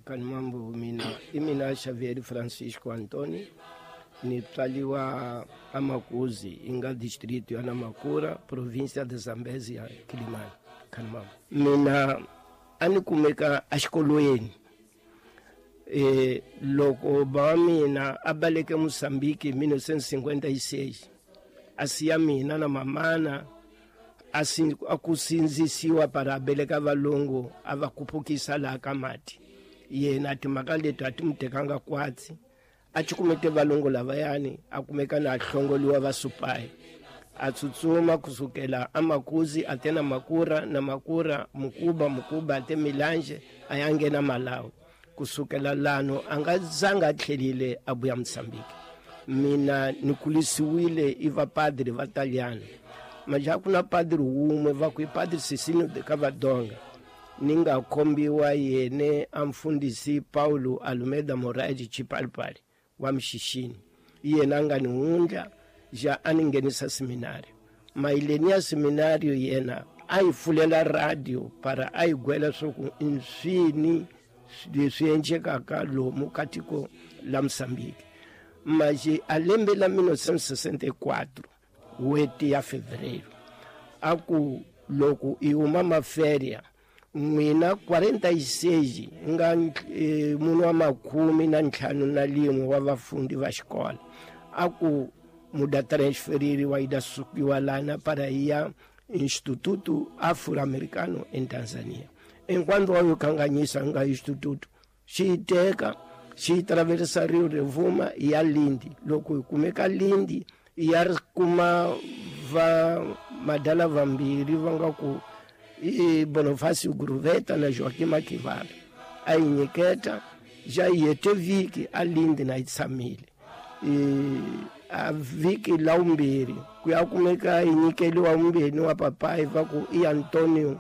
Kanimambo mina i mina Xavier Francisco Antoni, ni tswaliwa aMakuzi, i nga distrito ya Namakura, província de Zambezia, Kilimani. Kanimambo mina a ni kumeka exikolweni loko ba wa mina a baleke Mozambique hi 1956, a siya mina na mamana, a ku sindzisiwa para a beleka valungu, a va kuphukisa laha ka mati. Yena timhaka leti a ti mu tekanga kwatsi, a cukumete valungu lavayani, a kumeka na a hlongoliwa va supayi, a tsutsuma kusukela aMakuzi a te na Makura, na Makura Mukuba, Mukuba a te Milange, a ya nghena Malawi. Kusukela lano a nga zanga a tlhelile a vuya Mozambique. Mina ni kulisiwile i vapadri va Taliano, maja ku na padri wun'we va ku i Padri Sisino de Cavadonga, ni nga khombiwa yene a mfundhisi Paulo Almeida Moraes Chipalipali wa Mxixini, yena a nga ni wundla ja a ni nghenisa seminario. Mayileni ya seminario yena a yi pfulela radio para a yi gwela swa ku nswini leswi endlekaka lomu ka tiko la Mozambique. Maje a lembe la 1964 weti ya fevereiro, a ku loko i huma maferia n'wina 46 nga munhu wa 51 wa vafundi va xikolo, a ku muda transfeririwa yi da sukiwa lana para ya Instituto Afro-Americano em Tanzania. Enquanto wa yo kanganyisa nga instituto xi yi teka xi yi traversa Rio Revuma ya Lindi. Loko hi kumeka Lindi ya ri kuma va madala vambirhi va nga ku i Bonifacio Gruveta na Joaquim Maquivala, a yi nyiketa ja yi hete vhiki a Lindi na yi tshamile a vhiki la vumbirhi ku ya kumeka yi nyikeliwa vumbirhi wa papayi va ku i Antonio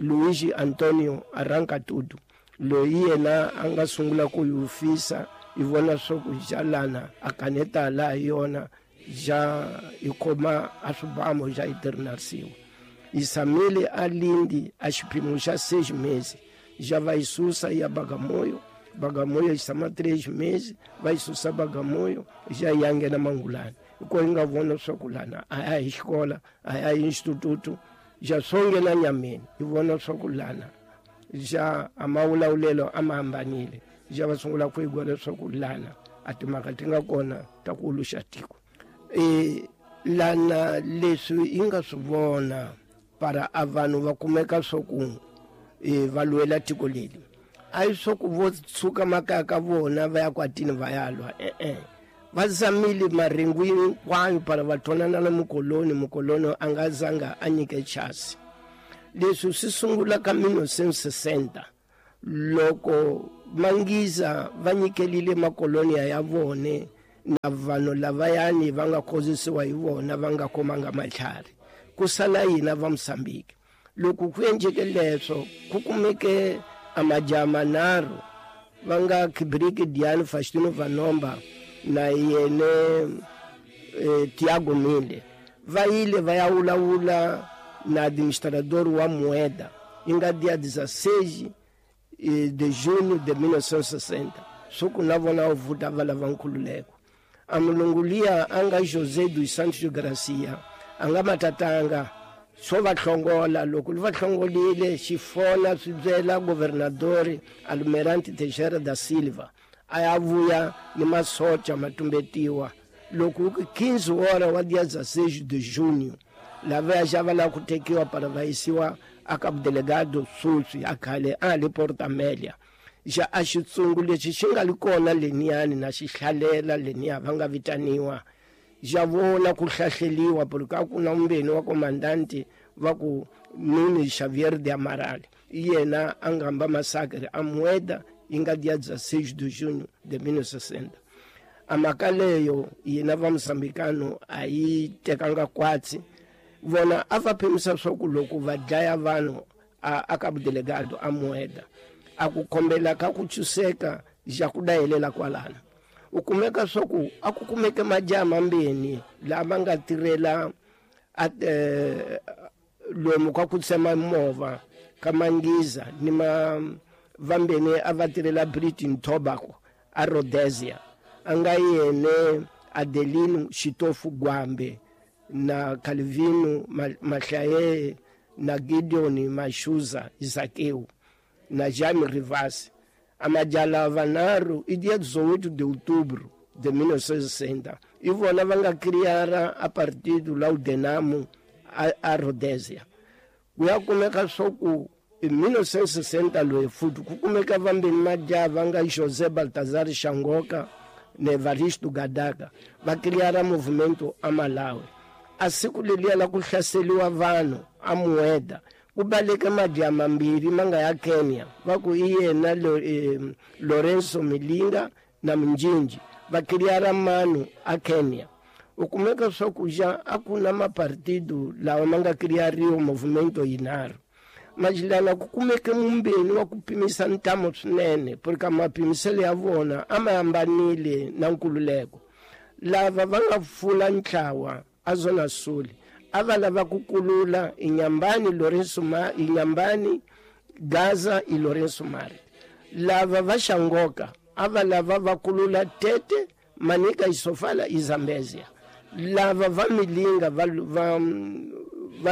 Luigi Antonio Arrancatudo, loyi yena a nga sungula ku yi fisa yi vona swa ku jalana a kaneta laha yona ja yi khoma a swibamu ja yi tirhinarisiwa. Yi tshamile a Lindi a xiphemu xa 6 meses, ja va yi susa ya Bagamoyo, Bagamoyo yi tshama 3 meses, va yi susa Bagamoyo ja yi ya nghena Mangulani. Hikuva yi nga vona swa ku lana a ya hi xikola, a ya hi instituto, ja swo nghena nyameni, yi vona swa ku lana ja a mawulawulelo a ma hambanile, ja va sungula ku yi vona swa ku lana a timhaka ti nga kona ta ku uluxa tiko. Lana leswi yi nga swi vona para a vanhu va kumeka swa ku va lwela tiko leri, a yi swa ku vo tshuka makaya ka vona va ya kwatini va ya lwa, e-e, va zamile marhengu hinkwayo para va twanana na mukoloni. Mukoloni a nga zanga a nyike chasi. Leswi swi sungula ka 1960 loko Mangiza va nyikelile makolonia ya vone na vanhu lavayani va nga khozisiwa hi vona va nga khomanga matlhari, ku sala hina va Mozambique. Loko ku endleke leswo ku kumeke a majaha manharhu va nga Kibriki Diane Faustino Vanomba na yene Tiago Mille, va yile va ya vulavula na administrador wa Mueda, yi nga dia 16 de junho de 1960, swo ku na vona va vuta va lava nkhululeko. A mulungu liya a nga José dos Santos Gracia a nga matatanga swo va hlongola. Loko va hlongolile xifona swi byela governadori Almirante Teixeira da Silva, a ya vuya ni masocha ma tumbetiwa. Loko ku 15 hora wa dia 16 de junho, lava ya xava la ku tekiwa para va yisiwa a ka delegado sweswi a khale a le Port Amelia. Ja a xitsungu lexi xi nga li kona leniyani na xi hlalela leniya va nga vitaniwa, ja vona ku hlahleliwa porque a ku na mumbeni wa komandanti va ku Nuno Xavier de Amaral, yena a nga hamba masakre a Mueda, yi nga dia 16 de junho de 1960. A mhaka leyo yena va Mozambikano a yi tekanga kwatsi, vona a va phemisa swa ku loko va dlaya vanhu a ka delegado a Mueda, a ku kombela ka ku tshuseka ja ku dayelela kwalano. U kumeka swa ku a ku kumeke majaha mambeni lama nga tirhela a lomu ka ku tsema movha ka Mangiza ni ma vambeni a va tirhela Britain Tobacco a Rhodesia, a nga yene Adelino Xitofu Gwambe na Calvino Mahlaye na Gideon Mashuza Zakeu na Jaime Rivas. Amajala vanharhu i dia 18 de outubro de 1960 i vona va nga criara a partido la Udenamo a Rhodesia. Ku ya kumeka swa ku hi 1960 loyi futhi ku kumeka vambeni majaha va nga José Baltazar Xangoka na Evaristo Gadaka va criara movimento a Malawi. A siku leliya la ku hlaseriwa vanhu a Mueda ku baleke majaha mambirhi ma nga ya Kenya, va ku i yena Lorenzo Milinga na Minjinji, va criara manu a Kenya. U kumeka swa ku ja a ku na mapartido lawa ma nga criariwa movimento yinharhu. Majilana ku kumeke mumbeni wa ku pimisa ntamu swinene, porque mapimiselo ya vona a ma hambanile na nkululeko. Lava va nga pfula ntlawa a Zona Sul a va lava ku kulula Inhambane, Lorenzo Inhambane, Gaza i Lorenzo Mari. Lava va Xangoka a va lava va kulula Tete, Manica i Sofala i Zambezia. Lava va Milinga va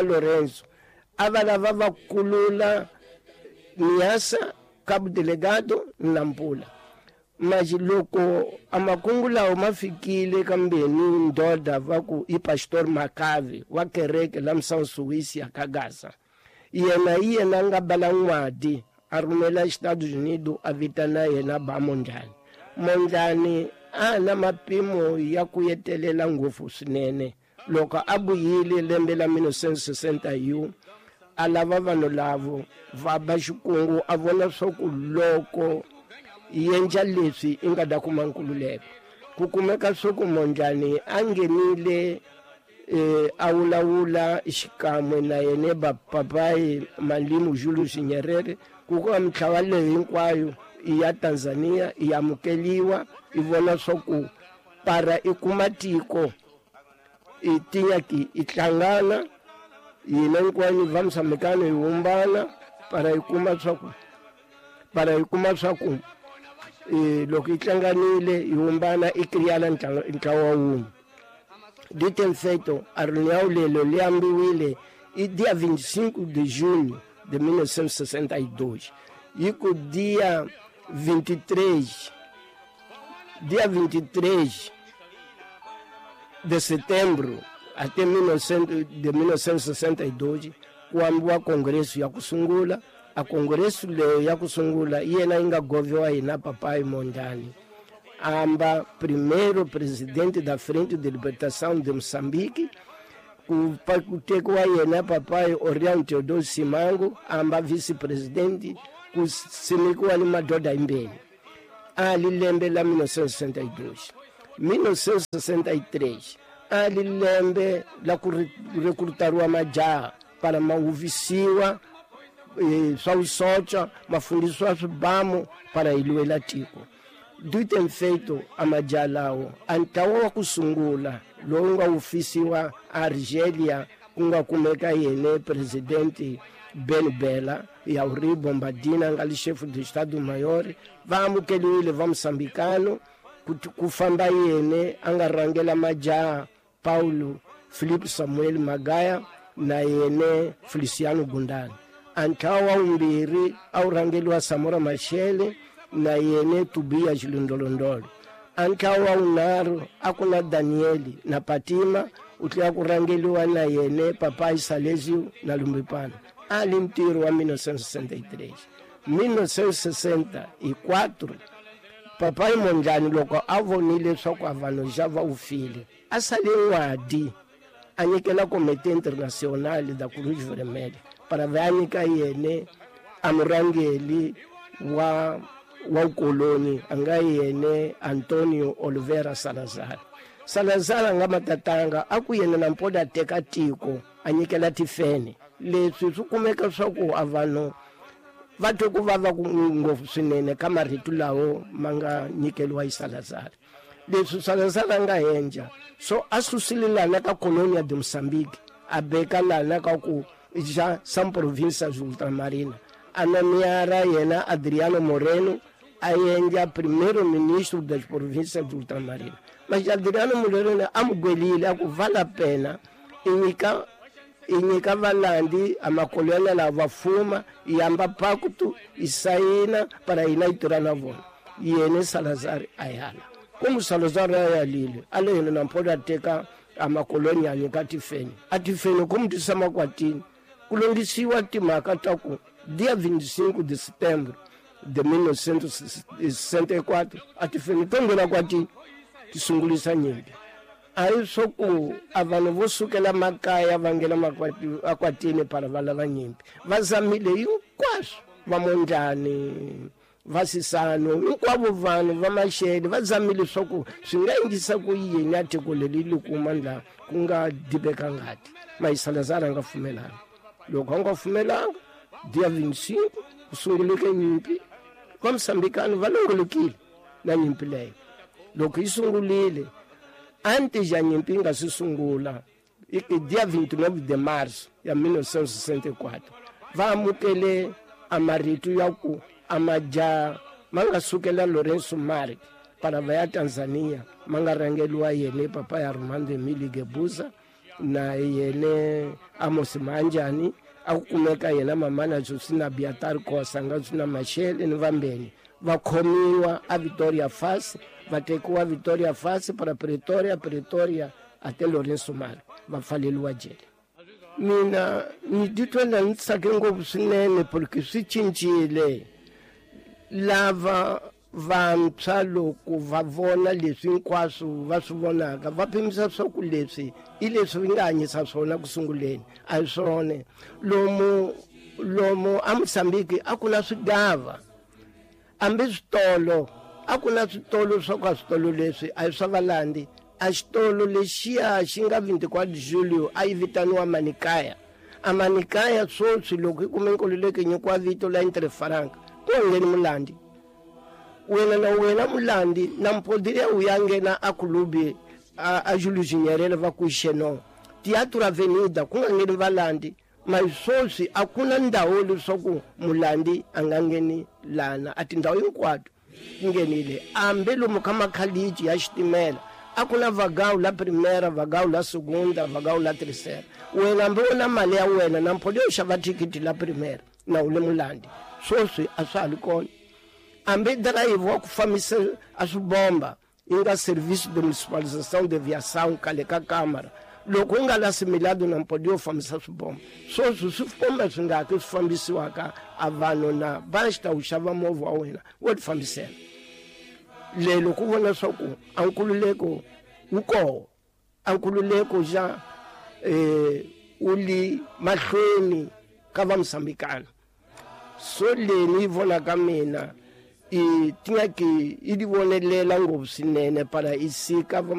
Lorenzo a va lava va kulula Niassa, Cabo Delgado na Nampula. Mas loko a makungu lawa ma fikile kambeni ndoda va ku i Pastor Makavi wa kereke la Msansuwisi ya ka Gaza, yena i yena a nga bala n'wadi a rhumela Estados Unidos a vitana yena ba Mondlane. Mondlane a na mapimo ya ku yetelela ngopfu swinene. Loko a vuyile lembe la 1961 a lava vanhu lavo va ba xikungu, a vona swa ku loko yendla leswi i nga ta kuma nkululeko. Ku kumeka swa ku Mondlane a nghenile a vulavula xikan'we na yena ba papai Mwalimu Julius Nyerere, ku ka mitlawa leyi hinkwayo i ya Tanzania i amukeliwa, i vona swa ku para i kuma tiko i tinyaki i hlangana yina hinkwayo va Mozambikano hi humbana para i kuma swa ku para i kuma swa ku loko i hlanganile hi humbana i kriyala ntlawa wun'we. Dito em feito, a reunião lelo lhe ambiwile i dia 25 de junho de 1962. E com dia 23, dia 23 de setembro até 1962, quando a Congresso ya kusungula, a Congresso le ya kusungula yena inga goviwa hina papai Mondlane. Amba primeiro presidente da Frente de Libertação de Moçambique, ku tekiwa yena papai Orião Teodoro Simango, amba vice-presidente, ku simekiwa ni madoda yimbeni. Ali lembe la 1962. 1963 ali lembe la ku rekrutariwa majaha para mahuvisiwa swa vusocha, mafundisiwa swibamu para hi lwela tiko. Dito em feito a majaha lawo a ntlawa wa ku sungula lowu nga wufisiwa Argelia, ku nga kumeka yene presidente Ben Bella Yauri Bombadina nga li chef de Estado Maior, va amukeliwile va Mozambikano ku famba yene a nga rhangela majaha Paulo Filipe Samuel Magaya na yene Feliciano Gundani. A ntlawa wa vumbirhi a wu rhangeliwa Samora Machel na yene Tobias Lindolondolo. A ntlawa wa vunharhu a ku na Daniel na Patima, u tlhela ku rhangeliwa na yene Papai Salesio na Lumbipana. A li ntirho wa 1963. 1964 Papai Mondlane loko a vonile leswaku a vanhu xa va wu file, a sale n'wadi a nyikela Comité Internacional da Cruz Vermelha para va nyika yene a murhangeli wa ukoloni a nga yene Antonio Oliveira Salazar. Salazar a nga matatanga a ku yena na mpoda a teka tiko a nyikela tifene. Leswi swi kumeka swa ku a vanhu va twe ku vava ngopfu swinene ka marito lawo ma nga nyikeliwa hi Salazar. Leswi Salazar a nga endla so a susile lana ka colonia de Moçambique a beka lana ka ku ja são províncias ultramarina. A nomeara yena Adriano Moreno a endla primeiro-ministro das províncias do Ultramarino. Mas Adriano Moreno a mu gwelile a ku vale a pena i nyika i nyika valandi a makolonial lava va fuma i amba pacto i sayina para hina i tirha na vona. Yena Salazar a yala. Como Salazar a yalile, a le yena nampolo a teka a makolonial a nyika tifeni. A tifeni como tisa makwatini ku longisiwa timhaka ta ku dia 25 de setembro de 1964 a tifeni to nghena kwatini ti sungulisa nyimpi. A hi swo ku a vanhu vo sukela makaya va nghena akwatini para va lava nyimpi. Va zamile hinkwaswo, va Mondlane, va Sisano, hinkwavo vanhu va Machele va zamile swa ku swi nga endlisa ku yini a tiko leri li kuma la ku nga dibeka ngati. Mas Salazar a nga pfumelanga. Loko a nga pfumelanga, dia 25 ku sunguleke nyimpi, va Mosambikano va longolokile na nyimpi leyo. Loko yi sungulile, antes ya nyimpi yi nga si sungula, dia 29 de março ya 1964, va amukele a marito ya ku a majaha ma nga sukela Lourenço Marques para va ya Tanzania, ma nga rhangeriwa yene papa ya Armando Emilio Guebuza na yene Amos Manjani, a ku kumeka yena mamana Josina Biatar Kosa nga swi na Machele ni vambeni. Va khomiwa a Victoria Falls, va tekiwa Victoria Falls para Pretoria, Pretoria ate Lourenço Marques, va pfaleriwa jele. Mina ni titwa na ni tsake ngopfu swinene porque swi cincile. Lava vantshwa loko va vona leswi hinkwaswo va swi vonaka, va pimisa swa ku leswi i leswi vi nga hanyisa swona ku sunguleni, a hi swona. Lomu lomu a Mozambique a ku na swigava, hambi switolo a ku na switolo swa ku a switolo leswi a hi swa valandi. A xitolo lexiya xi nga 24 julio a yi vitaniwa Manikaya. A Manikaya sweswi loko yi kume nkululeko yi nyikiwa vito la Entre Franca, ku nga ngheni mulandi. Wena na wena mulandi na mpodile u ya nghena a kulubi a Julius Nyerere va ku xeno. Teatro Avenida ku nga ngheni valandi. Mas sweswi a ku na ndhawu leswaku mulandi a nga ngheni lana, a tindhawu hinkwato ti nghenile. Hambi lomu ka makhaliji ya xitimela a ku na vagão la primeira, vagão la segunda, vagão la terceira. Wena hambi u na mali ya wena na mpho leyo xava thikithi la primeira na u le mulandi, sweswi a swa ha li kona. Hambi driver wa ku fambisa a swi bomba yi nga service de municipalização de aviação khale ka kamara, loko u nga la similado na mpho leyo fambisa swibomba, sweswi swibomba swi nga ki swi fambisiwaka a vanhu na basta u xava movha wa wena wo ti fambisela. Lelo ku vona swa ku a nkululeko wu koho, a nkululeko xa wu li mahlweni ka va Mosambikana. So leni yi vonaka mina i tingaki i di vonelela ngopfu swinene para i sika va